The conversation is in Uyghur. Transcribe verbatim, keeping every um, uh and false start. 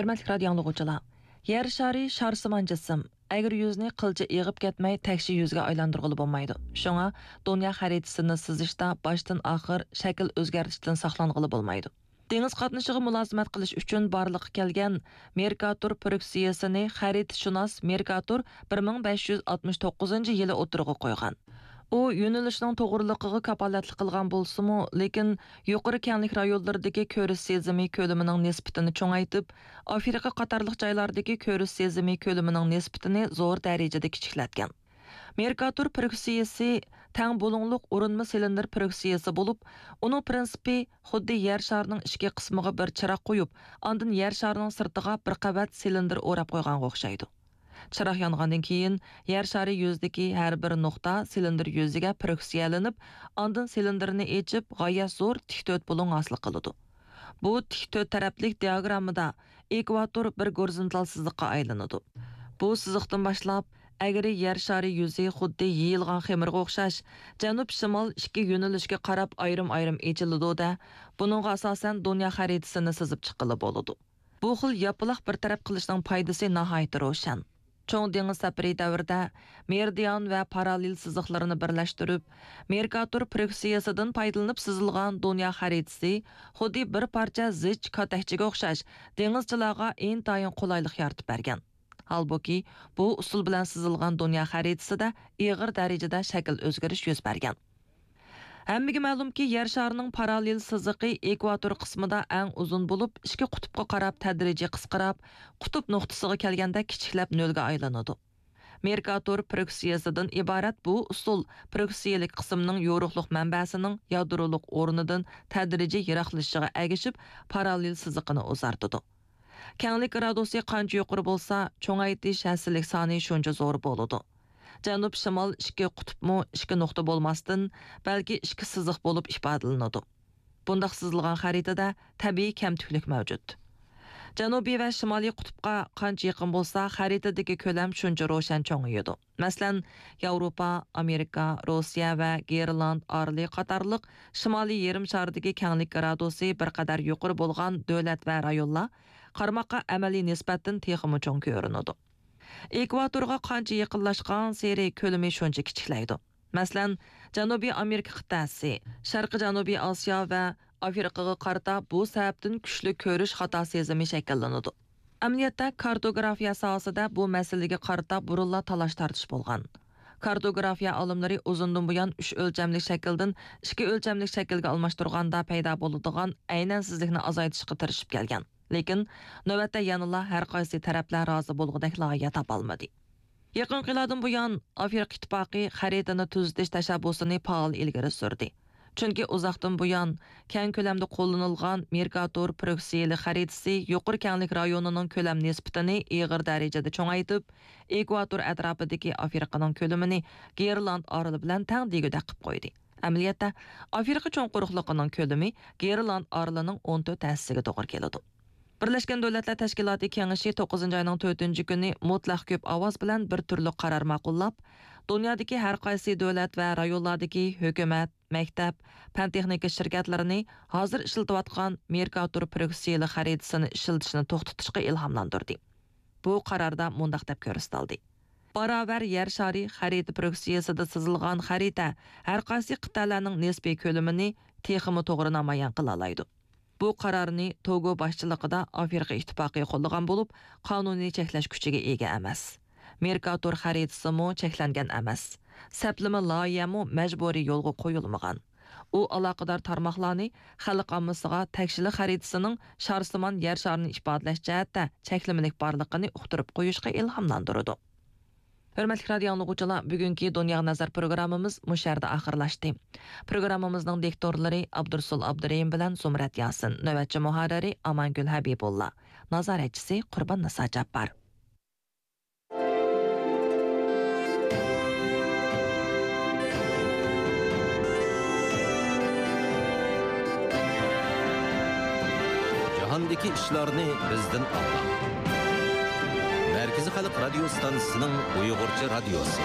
ھۆرمەتلىك رادىيو ئاڭلىغۇچىلار، يەر شارى شارسىمان جىسىم، ئەگرى يۈزنى قىلچە ئېغىپ كەتمەي تەكشى يۈزگە ئايلاندۇرغىلى بولمايدۇ. شۇڭا دۇنيا خەرىتىسىنى سىزىشتا باشتىن ئاخىر شەكىل ئۆزگەرتىشتىن ساقلانغىلى بولمايدۇ. دېڭىز قاتنىشىغا مۇلازىمەت قىلىش ئۈچۈن بارلىققا كەلگەن مېركاتور پروكسىيىسىنى خەرىتىشۇناس مېركاتور بىر مىڭ بەش يۈز ئاتمىش توققۇزىنچى يىلى ئوتتۇرىغا قويغان. ئۇ يۆنىلىشنىڭ توغرىلىقىغا كاپالەتلىك قىلغان بولسىمۇ، لېكىن يۇقىرى كەڭلىك رايونلىرىدىكى كۆرۈش سېزىمى كۆلىمىنىڭ نىسبىتىنى چوڭايتىپ، ئافرىقا قاتارلىق جايلاردىكى كۆرۈش سېزىمى كۆلىمىنىڭ نىسبىتىنى زور دەرىجىدە كىچىكلەتكەن. مېركاتور پروكسىيىسى تەڭ بۇلۇڭلۇق ئۇرۇنما سىلىندىر پروكسىيىسى بولۇپ، ئۇنىڭ پىرىنسىپى خۇددى يەر شارىنىڭ ئىچكى قىسمىغا بىر چىراغ قويۇپ، ئاندىن يەر شارىنىڭ سىرتىغا بىر قەۋەت سىلىندىر ئوراپ قويغانغا ئوخشايدۇ. چىراغ يانغاندىن كېيىن، يەر شارى يۈزىدىكى ھەر بىر نۇقتا سىلىندىر يۈزىگە پروكسىيەلىنىپ، ئاندىن سىلىندىرنى ئېچىپ، غايەت زور تىك تۆت بۇلۇڭ ھاسىل قىلىدۇ. بۇ تىك تۆت تەرەپلىك دىئاگراممىدا ئېكۋاتور بىر گورىزونتال سىزىققا ئايلىنىدۇ. بۇ سىزىقتىن باشلاپ، ئەگرى يەر شارى يۈزى خۇددى يېيىلغان خېمىرغا ئوخشاش، جەنۇب-شىمال ئىككى يۆنىلىشكە قاراپ ئايرىم-ئايرىم ئېچىلىدۇ-دە، بۇنىڭغا ئاساسەن دۇنيا خەرىتىسىنى سىزىپ چىققىلى بولىدۇ. بۇ خىل ياپىلاق بىر تەرەپ قىلىشنىڭ پايدىسى ناھايىتى روشەن. چوڭ دېڭىز سەپىرى دەۋرىدە مېرىدىئان ۋە پاراللېل سىزىقلىرىنى بىرلەشتۈرۈپ، مېركاتور پروكسىيىسىدىن پايدىلىنىپ سىزىلغان دۇنيا خەرىتىسى خۇددى بىر پارچە زىچ كاتەكچىگە ئوخشاش دېڭىزچىلارغا ئىنتايىن قولايلىق يارىتىپ بەرگەن. ھالبۇكى، بۇ ئۇسۇل بىلەن سىزىلغان دۇنيا خەرىتىسىدە ئېغىر دەرىجىدە شەكىل ئۆزگىرىش يۈز بەرگەن. ھەممىگە مەلۇمكى، يەر شارىنىڭ پاراللېل سىزىقى ئېكۋاتور قىسمىدا ئەڭ ئۇزۇن بولۇپ، ئىككى قۇتۇپقا قاراپ تەدرىجىي قىسقىراپ، قۇتۇپ نۇقتىسىغا كەلگەندە كىچىكلەپ نۆلگە ئايلىنىدۇ. مېركاتور پروكسىيىسىدىن ئىبارەت بۇ ئۇسۇل پروكسىيىلىك قىسىمنىڭ يورۇقلۇق مەنبەسىنىڭ يادرولۇق ئورنىدىن تەدرىجىي يىراقلىشىشىغا ئەگىشىپ، پاراللېل سىزىقىنى ئۇزارتىدۇ. كەڭلىك گرادۇسى قانچە يۇقىرى بولسا، چوڭايتىش ھەسسىلىك سانى شۇنچە زور بولىدۇ. جەنۇب-شىمال ئىككى قۇتۇپمۇ ئىككى نۇقتا بولماستىن، بەلكى ئىككى سىزىق بولۇپ ئىپادىلىنىدۇ. بۇنداق سىزىلغان خەرىتىدە تەبىئىي كەمتۈكلۈك مەۋجۇت. جەنۇبىي ۋە شىمالىي قۇتۇپقا قانچە يېقىن بولسا، خەرىتىدىكى كۆلەم شۇنچە روشەن چوڭىيىدۇ. مەسىلەن، ياۋروپا، ئامېرىكا، روسىيە ۋە گرېنلاند ئارىلى قاتارلىق شىمالىي يېرىم شاردىكى كەڭلىك گرادۇسى بىر قەدەر يۇقىرى بولغان دۆلەت ۋە رايونلار قارىماققا ئەمەلىي نىسبەتتىن تېخىمۇ چوڭ كۆرۈنىدۇ. ئېكۋاتورغا قانچە يېقىنلاشقانسېرى كۆلىمى شۇنچە كىچىكلەيدۇ. مەسىلەن، جەنۇبىي ئامېرىكا قىتئەسى، شەرقىي جەنۇبىي ئاسىيا ۋە ئافرىقىغا قارىتا بۇ سەۋەبتىن كۈچلۈك كۆرۈش خاتا سېزىمى شەكىللىنىدۇ. ئەمەلىيەتتە، كارتوگرافىيە ساھەسىدە بۇ مەسىلىگە قارىتا بۇرۇنلا تالاش-تارتىش بولغان. كارتوگرافىيە ئالىملىرى ئۇزۇندىن بۇيان ئۈچ ئۆلچەملىك شەكىلدىن ئىككى ئۆلچەملىك شەكىلگە ئالماشتۇرغاندا پەيدا بولىدىغان ئەينەنسىزلىكنى ئازايتىشقا تىرىشىپ كەلگەن. لېكىن نۆۋەتتە يەنىلا ھەر قايسى تەرەپلەر رازى بولغۇدەك لايىھە تاپالمىدى. يېقىنقى يىللاردىن بۇيان، ئافرىقا ئىتتىپاقى خەرىتىنى تۈزىتىش تەشەببۇسىنى پائال ئىلگىرى سۈردى. چۈنكى ئۇزاقتىن بۇيان، كەڭ كۆلەمدە قوللىنىلغان مېركاتور پروكسىيىلىك خەرىتىسى يۇقىرى كەڭلىك رايونىنىڭ كۆلەم نىسبىتىنى ئېغىر دەرىجىدە چوڭايتىپ، ئېكۋاتور ئەتراپىدىكى ئافرىقىنىڭ كۆلىمىنى گرېنلاند ئارىلى بىلەن تەڭ دېگۈدەك قىلىپ قويدى. ئەمەلىيەتتە، ئافرىقا چوڭ قۇرۇقلۇقىنىڭ كۆلىمى گرېنلاند ئارىلىنىڭ ئون تۆت ھەسسىسىگە توغرا كېلىدۇ. بىرلەشكەن دۆلەتلەر تەشكىلاتى كېڭىشى توققۇزىنچى ئاينىڭ تۆتىنچى كۈنى مۇتلەق كۆپ ئاۋاز بىلەن بىر تۈرلۈك قارار ماقۇللاپ، دۇنيادىكى ھەر قايسى دۆلەت ۋە رايونلاردىكى ھۆكۈمەت، مەكتەپ، پەن تېخنىكا شىركەتلىرىنى ھازىر ئىشلىتىۋاتقان مېركاتور پروكسىيىلىك خەرىتىسىنى ئىشلىتىشنى توختىتىشقا ئىلھاملاندۇردى. بۇ قاراردا مۇنداق دەپ كۆرسىتىلدى: باراۋەر يەر شارى خەرىتە پروكسىيىسىدا سىزىلغان خەرىتە ھەر قايسى قىتئەلەرنىڭ نىسپىي كۆلىمىنى تېخىمۇ توغرا نامايان قىلالايدۇ. بۇ قارارنى توگو باشچىلىقىدا ئافرىقا ئىتتىپاقى قوللىغان بولۇپ، قانۇنىي چەكلەش كۈچىگە ئىگە ئەمەس. مېركاتور خەرىتىسىمۇ چەكلەنگەن ئەمەس. سەپلىمە لايىھەمۇ مەجبۇرىي يولغا قويۇلمىغان. ئۇ ئالاقىدار تارماقلارنى خەلق ئاممىسىغا تەكشىلىك خەرىتىسىنىڭ شارسىمان يەر شارىنى ئىپادىلەش جەھەتتە چەكلىمىلىك بارلىقىنى ئۇقتۇرۇپ قويۇشقا ئىلھاملاندۇرىدۇ. ھۆرمەتلىك رادىيو ئاڭلىغۇچىلار، بۈگۈنكى دۇنياغا نەزەر پروگراممىمىز مۇشۇ يەردە ئاخىرلاشتى. پروگراممىمىزنىڭ دىكتورلىرى ئابدۇرسۇل ئابدۇرېھىم بىلەن زۇمرەت ياسىن، نۆۋەتچى مۇھەررىرى ئامانگۈل ھەبىبۇللا، نازارەتچىسى قۇرباننىسا جاپپار. جاھاندىكى ئىشلارنى بىزدىن ئاڭلاڭ. مەركىزىي خەلق رادىيو ستانسىسىنىڭ ئۇيغۇرچە رادىيوسى.